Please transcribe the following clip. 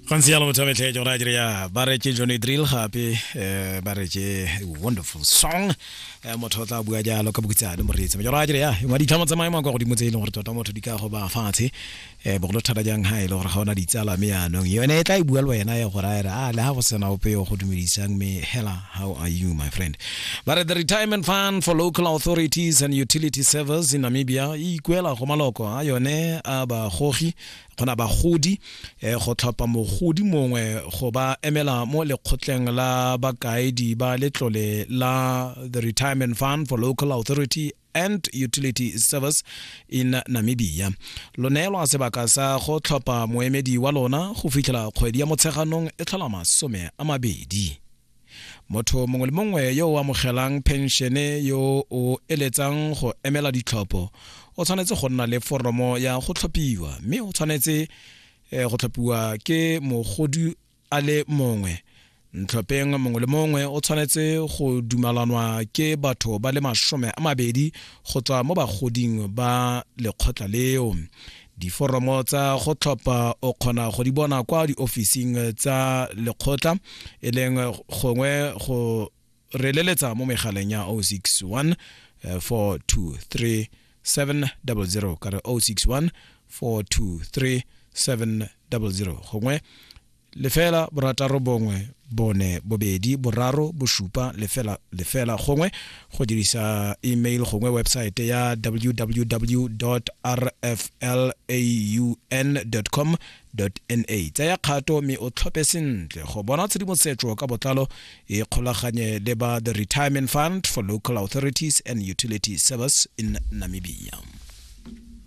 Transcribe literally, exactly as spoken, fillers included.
Go ntse jalo, motho wa metlhe, ke gore a dire ya ba re ke Johnny Drill gape, eh, ba re ke wonderful song. eh, motho o tla bua jalo ka bokutsane, moreetsi, ke gore a dire ya engwa ditlhamo tsa maemo a kwa godimo tse e leng gore tota motho di ka go ba fatshe, um bogolo thata jang ha e le gore ga ona ditsala, mme yaanong yone e tla e bua le wena ya gore a re a le ha go sena ope yo go dumedisang, mme hela, how are you, my friend? Ba re the Retirement Fund for Local Authorities and Utility Service in Namibia e ikuela go maloko a yone a bagogi kgona bagodi eh, go tlhopha mogodi mongwe go ba emela mo lekgotleng la bakaedi ba letlole la the Retirement Fund for Local Authority and Utility Service in Namibia. Lo neelwa sebaka sa go tlhopha moemedi wa lona go fitlhela kgwedi ya Motsheganong e tlhola masome a mabedi. Motho mongwe le mongwe yo o amogelang penšene yo o eletsang go emela ditlhopho o tshwanetse go nna le foromo ya go tlhophiwa, mme o tshwanetse eh, go tlhophiwa ke mogodi a le mongwe ntlhopheng mongwe le mongwe. O tshwanetse go dumalanwa ke batho ba le masome a mabedi go tswa mo bagoding ba lekgotla leo. Diforomo tsa go tlhopha o kgona go di bona kwa diofising tsa lekgotla, e leng gongwe go re leletsa mo megaleng ya zero six one four two three seven zero zero, ka re zero six one four two three seven zero zero, gongwe lefela borataro bongwe bone bobedi boraro bosupa lefela lefela, gongwe go dirisa email gongwe website ya w w w r f l a u n com na. Tsaya kgato mme o tlhophe sentle. Go bona tshedimosetso ka botlalo, e kgolaganye le ba the Retirement Fund for Local Authorities and Utility Service in Namibia.